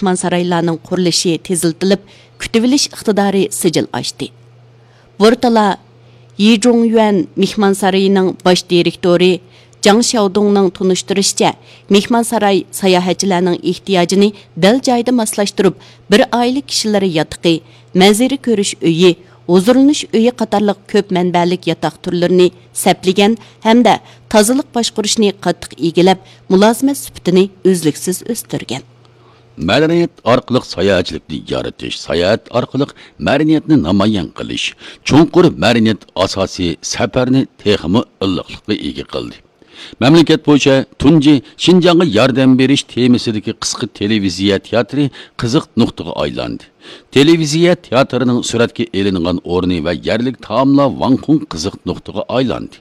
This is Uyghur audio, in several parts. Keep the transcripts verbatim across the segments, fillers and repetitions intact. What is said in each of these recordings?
مېھمانسارايلارنىڭ قۇرۇلۇشى تېزلىتىلىپ، كۈتۈۋېلىش ئىقتىدارى سىجىل ئاشتى. بورتالا يىجۇڭيۈەن مېھمانسارىيىنىڭ باش دىرېكتورى جاڭ شياۋدۇڭنىڭ تونۇشتۇرۇشىچە، مېھمانساراي ساياھەتچىلەرنىڭ ئېھتىياجىنى دەل جايىدا ماسلاشتۇرۇپ، بىر ئائىلە كىشىلىرى ياتىقى، مەنزىرە كۆرۈش ئۆيى، ھۇزۇرلىنىش ئۆيى قاتارلىق كۆپ مەنبەلىك ياتاق تۈرلىرىنى سەپلىگەن ھەمدە تازىلىق باشقۇرۇشنى قاتتىق ئىگىلەپ، مۇلازىمەت سۈپىتىنى ئۈزلۈكسىز ئۆستۈرگەن. مەدەنىيەت ئارقىلىق ساياھەتچىلىكنى يارىتىش، ساياھەت ئارقىلىق مەدەنىيەتنى نامايان قىلىش، چوڭقۇر مەدەنىيەت ئاساسىي سەپەرنى تېخىمۇ ئىللىقلىققا ئىگە قىلدى. مەملىكەت بويىچە تۇنجى شىنجاڭغا ياردەم بېرىش تېمىسىدىكى قىسقا تېلېۋىزىيە تىياتىرى قىزىق نۇقتىغا ئايلاندى. تېلېۋىزىيە تىياتىرىنىڭ سۈرەتكە ئېلىنغان ئورنى ۋە يەرلىك تائاملار ۋاڭخۇڭ قىزىق نۇقتىغا ئايلاندى.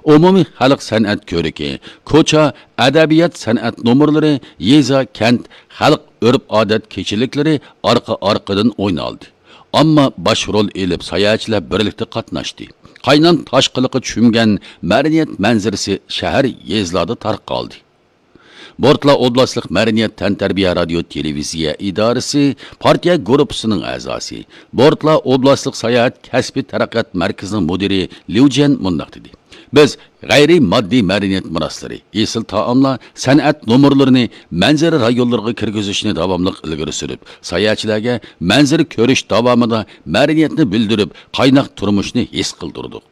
ئومۇمىي خەلق سەنئەت كۆرىكى، كوچا، ئەدەبىيات سەنئەت نومۇرلىرى، يېزا، كەنت، خەلق ئۆرپ-ئادەت كېچىلىكلىرى ئارقا-ئارقىدىن ئوينالدى. ئامما باش رول ئېلىپ، ساياھەتچىلەر بىرلىكتە قاتناشتى. قاينام تاشقىلىققا چۆمگەن مەدەنىيەت مەنزىرىسى شەھەر، يېزىلاردا تارقالدى. بورتلا ئوبلاستلىق مەدەنىيەت تەنتەربىيە رادىيو تېلېۋىزىيە ئىدارىسى پارتىيە گۇرۇپپىسىنىڭ ئەزاسى، بورتلا ئوبلاستلىق ساياھەت كەسپىي تەرەققىيات مەركىزىنىڭ مۇدىرى ليۇ جيەن مۇنداق دېدى: بىز غەيرىي ماددىي مەدەنىيەت مىراسلىرى، ئېسىل تائاملار، سەنئەت نومۇرلىرىنى مەنزىرە رايونلىرىغا كىرگۈزۈشنى داۋاملىق ئىلگىرى سۈرۈپ، ساياھەتچىلەرگە مەنزىرە كۆرۈش داۋامىدا مەدەنىيەتنى بىلدۈرۈپ، قايناق تۇرمۇشنى ھېس قىلدۇردۇق.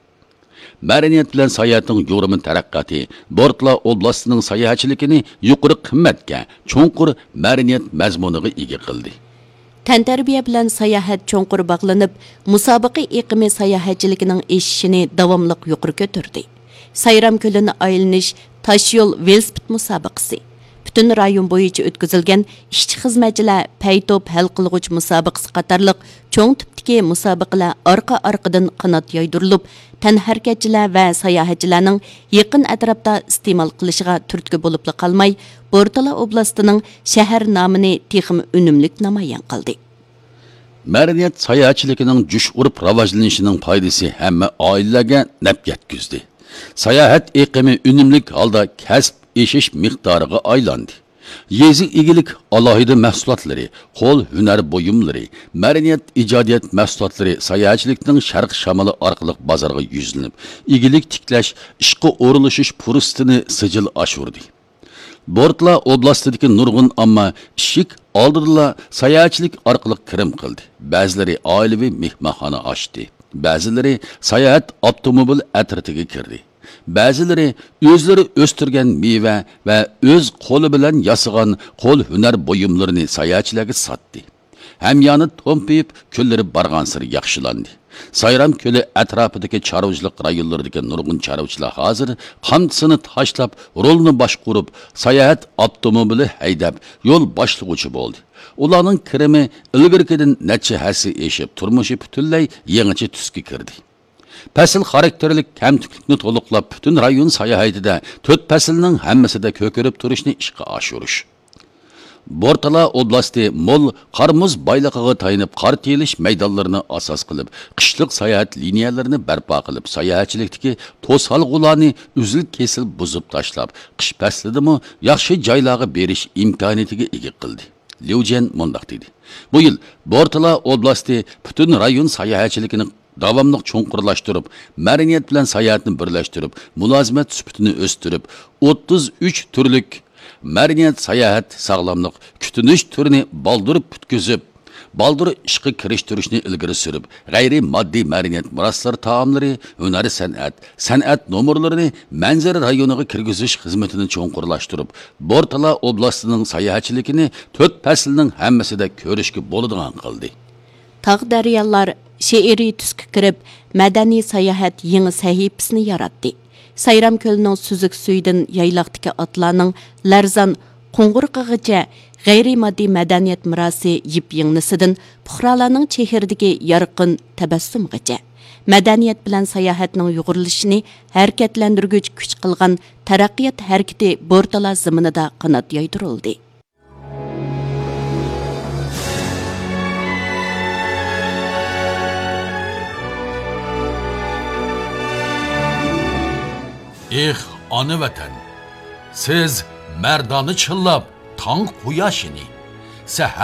مەدەنىيەت بىلەن ساياھەتنىڭ يۇغۇرما تەرەققىياتى بورتلا ئوبلاستىنىڭ ساياھەتچىلىكىنى يۇقىرى قىممەتكە، چوڭقۇر مەدەنىيەت مەزمۇنىغا ئىگە قىلدى. تەنتەربىيە بىلەن ساياھەت چوڭقۇر باغلىنىپ، مۇسابىقە ئېقىمى ساياھەتچىلىكىنىڭ ئېشىشىنى داۋاملىق يۇقىرى كۆتۈردى. سايرام كۆلىنى ئايلىنىش تاشيول ۋېلىسىپىت مۇسابىقىسى، پۈتۈن رايون بويىچە ئۆتكۈزۈلگەن ئىشچى خىزمەتچىلەر پەيتوپ ھەل قىلغۇچ مۇسابىقىسى قاتارلىق چوڭ تىپتىكى مۇسابىقىلەر ئارقا-ئارقىدىن قانات يايدۇرۇلۇپ، تەنھەرىكەتچىلەر ۋە ساياھەتچىلەرنىڭ يېقىن ئەتراپتا ئىستېمال قىلىشىغا تۈرتكە بولۇپلا قالماي، بورتالا ئوبلاستىنىڭ شەھەر نامىنى تېخىمۇ ئۈنۈملۈك نامايان قىلدى. مەدەنىيەت ساياھەتچىلىكىنىڭ جۇش ئۇرۇپ راۋاجلىنىشىنىڭ پايدىسى ھەممە ئائىلىلەرگە نەپ يەتكۈزدى. ساياھەت ئېقىمى ئۈنۈملۈك ھالدا كەسىپ ئېشىش مىقدارىغا ئايلاندى. يېزا ئىگىلىك ئالاھىدە مەھسۇلاتلىرى، قول ھۈنەر بۇيۇملىرى، مەدەنىيەت ئىجادىيەت مەھسۇلاتلىرى ساياھەتچىلىكنىڭ شەرق شامىلى ئارقىلىق بازارغا يۈزلىنىپ، ئىگىلىك تىكلەش، ئىشقا ئورۇنلىشىش پۇرسىتىنى سىجىل ئاشۇردى. بورتلا ئوبلاستىدىكى نۇرغۇن ئامما ئىشىك ئالدىدىلا ساياھەتچىلىك ئارقىلىق كىرىم قىلدى. بەزىلىرى ئائىلىۋى مېھمانخانا ئاچتى. بەزىلىرى ساياھەت ئاپتوموبىل ئەترىتىگە كىردى. بەزىلىرى ئۆزلىرى ئۆستۈرگەن مېۋە ۋە ئۆز قولى بىلەن ياسىغان قول ھۈنەر بۇيۇملىرىنى ساياھەتچىلەرگە ساتتى. ھەميانى تومپىيىپ، كۈنلىرى بارغانسېرى ياخشىلاندى. سايرام كۆلى ئەتراپىدىكى چارۋىچىلىق رايونلىرىدىكى نۇرغۇن چارۋىچىلار ھازىر قامچىسىنى تاشلاپ، رولنى باشقۇرۇپ، ساياھەت ئاپتوموبىلى ھەيدەپ، يول باشلىغۇچى بولدى. ئۇلارنىڭ كىرىمى ئىلگىرىكىدىن نەچچە ھەسسە ئېشىپ، تۇرمۇشى پۈتۈنلەي يېڭىچە تۈسكە كىردى. پەسىل خاراكتېرلىك كەمتۈكلۈكنى تولۇقلاپ، پۈتۈن رايون ساياھىتىدە تۆت پەسىلنىڭ ھەممىسىدە كۆكىرىپ تۇرۇشنى ئىشقا ئاشۇرۇش. بورتالا ئوبلاستى مول قار-مۇز بايلىقىغا تايىنىپ، قار تېيىلىش مەيدانلىرىنى ئاساس قىلىپ، قىشلىق ساياھەت لىنىيەلىرىنى بەرپا قىلىپ، ساياھەتچىلىكتىكى توسالغۇلارنى ئۈزۈل-كېسىل بۇزۇپ تاشلاپ، قىش پەسلىدىمۇ ياخشى جايلارغا بېرىش ئىمكانىيىتىگە ئىگە قىلدى. ليۇ جيەن مۇنداق دېدى: بۇ يىل بورتالا ئوبلاستى پۈتۈن رايون ساياھەتچىلىكىنى داۋاملىق چوڭقۇرلاشتۇرۇپ، مەدەنىيەت بىلەن ساياھەتنى بىرلەشتۈرۈپ، مۇلازىمەت سۈپىتىنى ئۆستۈرۈپ، ئوتتۇز ئۈچ تۈرلۈك مەدەنىيەت، ساياھەت، ساغلاملىق، كۈتۈنۈش تۈرىنى بالدۇر پۈتكۈزۈپ، بالدۇر ئىشقا كىرىشتۈرۈشنى ئىلگىرى سۈرۈپ، غەيرىي ماددىي مەدەنىيەت مىراسلىرى تائاملىرى، ھۈنەر سەنئەت، سەنئەت نومۇرلىرىنى مەنزىرە رايونىغا كىرگۈزۈش خىزمىتىنى چوڭقۇرلاشتۇرۇپ، بورتالا ئوبلاستىنىڭ ساياھەتچىلىكىنى تۆت پەسىلنىڭ ھەممىسىدە كۆرۈشكە بولىدىغان قىلدى. تاغ دەريالار شېئىرىي تۈسكە كىرىپ، مەدەنىي ساياھەت يېڭى سەھىپىسىنى ياراتتى. سايرام كۆلىنىڭ سۈزۈك سۈيىدىن يايلاقتىكى ئاتلارنىڭ لەرزان قوڭغۇرىقىغىچە غەيرىي ماددىي مەدەنىيەت مىراسى يىپ-يىڭنىسىدىن پۇقرالارنىڭ چېھرىدىكى يارقىن تەبەسسۇمىغىچە، مەدەنىيەت بىلەن ساياھەتنىڭ يۇغۇرۇلۇشىنى ھەرىكەتلەندۈرگۈچ كۈچ قىلغان تەرەققىيات ھەرىكىتى بورتالا زېمىنىدا قانات يايدۇرۇلدى. ئېھ، ئانا ۋەتەن! سىز مەردانە چىللاپ تاڭ قۇياشىنى، سەھەر